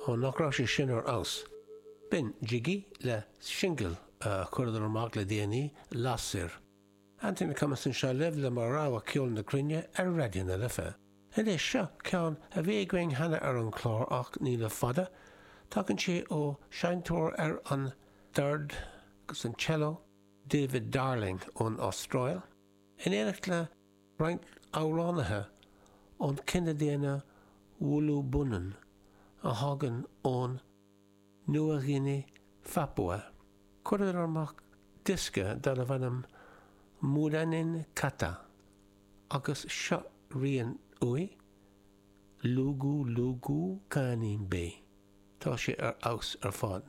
Ó, nach raibh sé sin ar fheabhas. B'in Jiggy le singil a chuireadar amach le déanaí, Lasair. Anthony Cummins anseo libh le mo rogha ceol na cruinne ar Raidió na Life. Anois, seo ceann a bhí againn cheana ar an chlár ach ní le fada. Tagann sé ó seinnteoir ar an dord agus an cello, David Darling ón Astráil, in éineacht le roinnt amhránaithe ón cine daonna Wulu Bunun a thagann ón Nua-Ghuine Phapua. Chuireadar amach diosca darbh ainm Mulanin Kata agus seo rian uaidh, Lugu Lugu Kanimbe. Tá sé ar fheabhas ar fad.